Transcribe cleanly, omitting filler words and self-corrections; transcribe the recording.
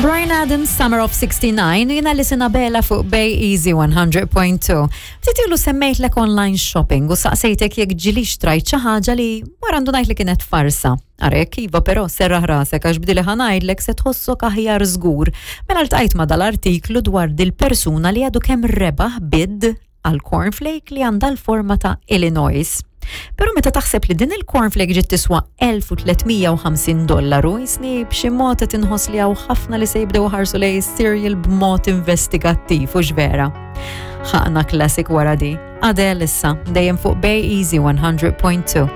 Bryan Adams, Summer of 69, u jiena li Sinabela fuq Bay Easy 100.2. Ftit ilu semmejtlek online shopping u saqsejtek jekk ġilix trajt xi ħaġa li wara ndunajt li kienet farsa. Arek, iva però serraħ rasek għax bdili ħa ngħidlek se tħossok aħjar żgur. Mela ltqajt ma' dal-artiklu dwar dil-persuna li għadu kemm rebaħ bid għal cornflake li għandha l-forma ta' Illinois. Però meta taħseb li din il-cornflake ġiet tiswa 1350 dollaru, jisni b'xi mod qed inħoss li hawn ħafna li se jibdew ħarsu lej cereal b'mod investigattiv u vera. Ħaqna classic wara di. Adele issa, dejjem fuq Bay Easy 100.2.